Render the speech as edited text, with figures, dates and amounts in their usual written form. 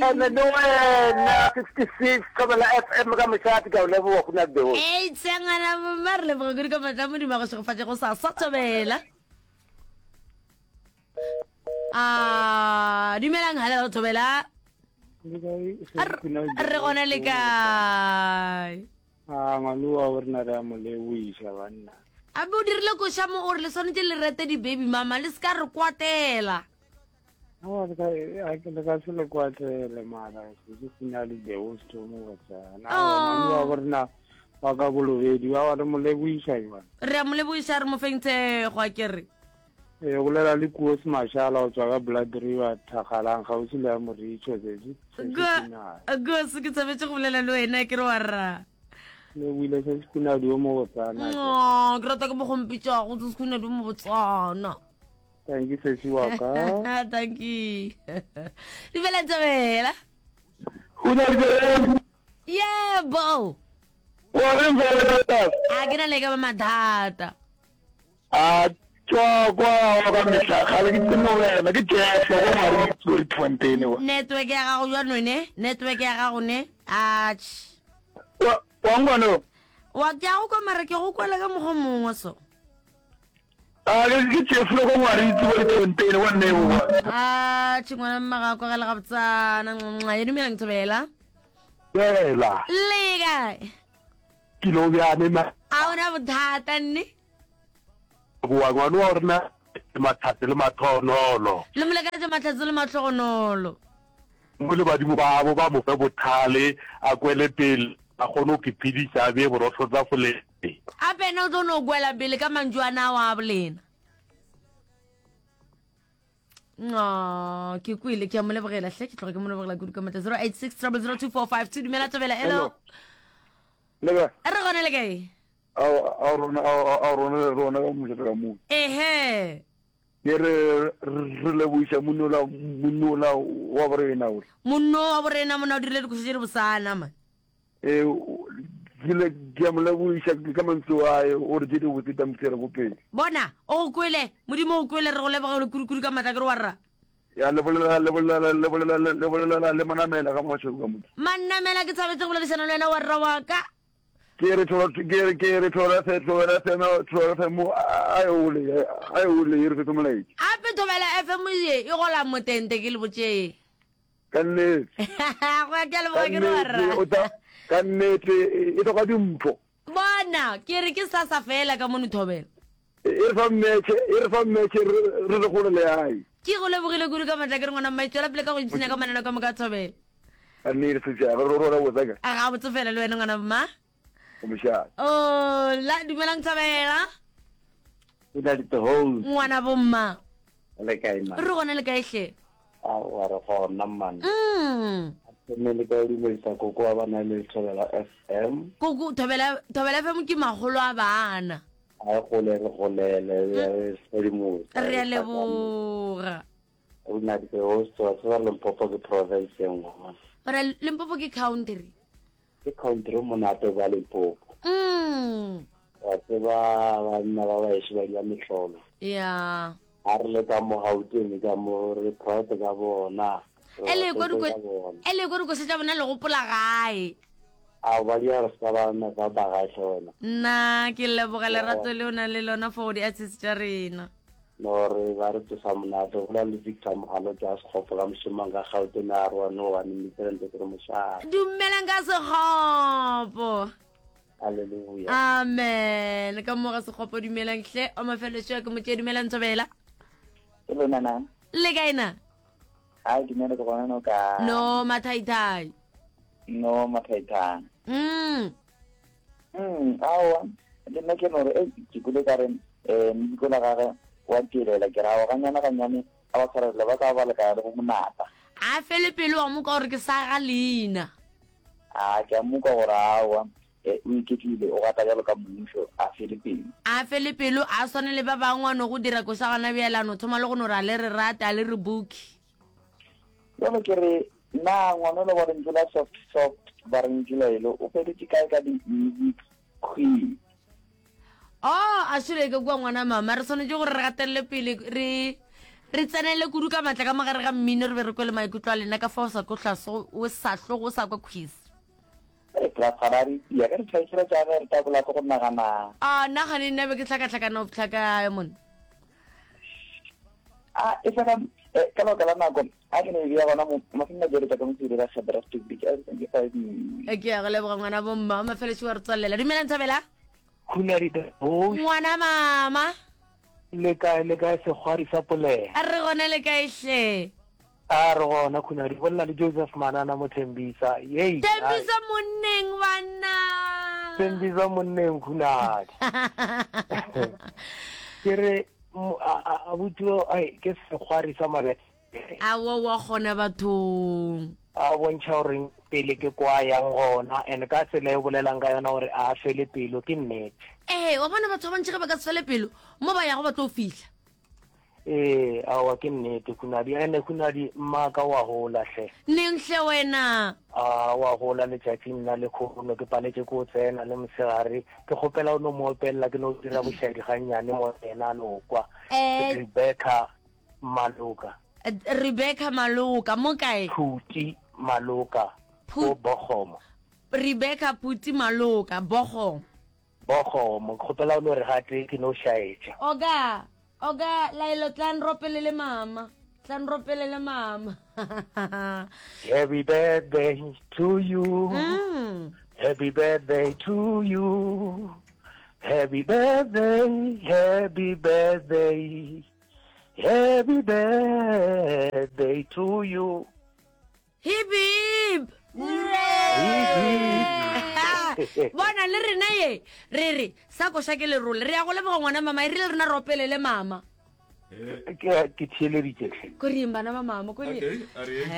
Ene le wena 66 Thobela FM ka mošate ke a o leboga go na the host. Ei tsengwana mma re leboga kudu ka matla modimo a go šegofatše go sa sa thobela. A dumelang halelo thobela. Re gona le kae? A ngwaloa o rena re a mo leboiša banna. A be o dirile koša mo o re le swanetše le rete di-baby mama le se ka re kwatela. Aowa le ka le ka se le kwatele mara se ke sena le the host o mo botsana. Aowa ngwaloa o rena wa ka bolobedi wa wa re mo leboiša jwang. Re a mo leboiša re mo feng thekgo a ke re. Ee, bolela le Koos Mashala go tswa ka Blood River, Thakgalang, kgauswi le ya Moritšho, Sesi, Sesi Kunadi. Koos, ke thabetše go bolela le wena, ke re wa rra. Le buile Sesi Kunadi yo mobotsana. No, ke rata ke mo gompitšago, Sesi Kunadi yo mobotsana. Thank you, Sesi wa ka. Thank you. Dumela Ntobela. Kunadi. Yebo. Wa reng fela? A ke na le ka ba mathata. A tšwa kwa wa ka mehla kgale ke tsene wena ke Jeff go Maritz ko Rietfontein wa. Network ya gago jwa ne network ya gago ne atjh. Wa wa nkwa no? Wa ke a go kwa mara ke go kwela ka mokgwa mongwe so. A ke ke Jeff go Maritz ko Rietfontein wa nne wa. Atjh ngwana mma ga kwagale gabotsana nxa ye dumelang thobela. Bela. Le kae? Ke lo bjane na. A ona bothata nne. Boa ngwana wa rena matlhatse le matlhogonolo. Le molekatše matlhatse le matlhogonolo. Mo le badimo babo ba mo fe bothale a kwele pele a kgone go ke phedisa a bee borotho tafoleng. Gape yena o tlo no kwela pele ka mantšu a na wa bolena. No, ke kwele ke a mo lebogela hle ke tloga ke mo lebogela kudu ka matla 086 0002452 dumela tobela hello. Leka. Re gona le kae? A rona a rona rona ka mošate ka mo. Ehe. Ke re re leboiša monola monola wa borena o. Monno wa borena mona o dirile dikošo tše di bosana man. Ee, ke le ke a mo leboiša ka mantšu ae o re tše di botse tša mosere ko pele. Bona, o go kwele, Modimo o go kwele, re go lebogele kudu-kudu ka matla ke re wa rra. Ya le bolela le bolela le bolela le bolela le manamela ka mošego ka motho. Manamela ke thabetše go boledišana le wena wa rra wa ka. Ke re tholo ke re ke re thobela fe thobela fe thobela fe mo a e ole a e ole e re fe molaetša. Ape thobela FM ye e gola motente ke le botše. Ka nnete. Go ya ke a leboga ke re wa rra. O tla ka nnete e hloka dimpho. Bona ke re ke sasa fela ka mono thobela. E re fa mmetšhe e re fa mmetšhe re re gole le ai. Ke go lebogile kudu ka matla ke re ngwana mma tswela pele ka go ipshina ka mananeo ka moka a thobela. Ka nnete setšhaba re rora botsa ka. A ga botse fela le wena ngwana mma. O mošate. Oh la dumelang thobela. O na le host. Ngwana bomma. Le kae ma? Re gona le kae hle? Aowa re gona mmane. Mm. Mme le ka dumedisa koko wa bana le Thobela FM. Koko Thobela Thobela FM ke magolo a bana. A e gole re golele ya re sedimosa. Re a leboga. O na le host wa tseba Limpopo ke province e nngwe. Ora Limpopo ke country. Ke country monate ba Limpopo. Mm. Wa tseba banna ba baeso ba dira mehlolo. Yeah. A re le ka mo Gauteng ka mo re proud ka bona. E le kwa dikoša tša bona le gopola gae. A ba di re ska ba na ba ba gae hle wena. Nna ke leboga lerato le o nang le lona for di artist tša rena. No re ba re tsosa monate go le Victor Mogalo tša Sekgopo ka mošomong ka Gauteng a re wa no wa nimitrente ke re mošate. Dumelang ka Sekgopo. Hallelujah. Amen. Ka mo ga Sekgopo dumelang hle. O mafelelo ke motše dumelang Thobela. Ke lona na? Le kae na? Ai dumela ke gona no ka. No mathaithai. No mathaithai. Mm. Mm, aowa le nna ke no re e ke kule ka re eh mediko la gage wa tšwelela ke ra ganyane ganyane a ba tshwarelele ba tla ba lekana le bo monata. A fele pelo wa mo ka gore ke sa ga leina. A ke a mo kwa gore aowa, e, o iketlile, o gata bjalo ka mmušo, a fele pelo. A fele pelo, a swane le ba bangwe, a no go dira koša gona bjale, a no thoma le go no re a le re rate, a le re booke. Bjale ke re, na ngwanola wa lentšu la soft soft ba re ntšu laelo o feletše kae ka di music queen? Oh, a šole ke kua ngwana mama, re swanetše gore re gatelele pele re. Re tsenele kudu ka matla ka mogare ga mmino re be re kwele maikutlo a lena ka fa o sa tlo hlaso o sa tlogo o sa kwa quiz. Re tla tshwara re tia ge re tšhaisela tša ge re tabola ke go nagana. A nna gane nna be ke hlakahlakana go fihla kae monna? A e fela eh, ka lebaka la nako a ke ne e bea gona mo mafelong a jeletša ka mosebedi ka kgethera Stupid a ke five E ke ya go leboga ngwana bomma wa mafeletše wa re tswalela. Dumelang Thabela. Khunadi the host. Ngwana mama. Le kae le kae sekgwari sa polela. A re gona le kae hle. A re gona Khunadi bolela le Joseph Manana mo Thembisa. Yei. Thembisa monneng banna. Thembisa monneng Khunadi. Ke re abuti ai ke sekgwari sa mabete. Aowa wa kgona bathong. A bontšha gore pele ke kwa yang gona and ka tsela e o bolelang ka yona gore a fele pelo ke nnete. Ee, wa bona batho ba bantši ge ba ka se fele pelo mo ba yago ba tlo fihla. Ee, aowa ke nnete Khunadi. Ene Khunadi mmaka wa gola hle. Neng hle wena? A wa gola letšatšing la lekhono ke paletše ko tsena le mosegare ke kgopela o no mo opelela ke no dira bošaedi gannyane mo yena a no kwa. Eh. Rebecca Maloka. Rebecca Maloka, mo kae? Phuti Maloka, ko Bogomo. Rebecca Phuti Maloka, Bogomo. Bogomo, ke kgopela o no re gate ke no šaetša. Oga, oga, Laelo tla nropelele mama. Tla nropelele mama. Happy birthday to you. Mm. Happy birthday to you. Happy birthday, happy birthday. Happy birthday to you. Hip hip. Bona le rena ye re re sa koša ke lerole re ya go leboga ngwana mama e rile rena re opelele mama Ke ke theeleditše hle. ko reng bana ba mama ko reng Okay, a re yeng.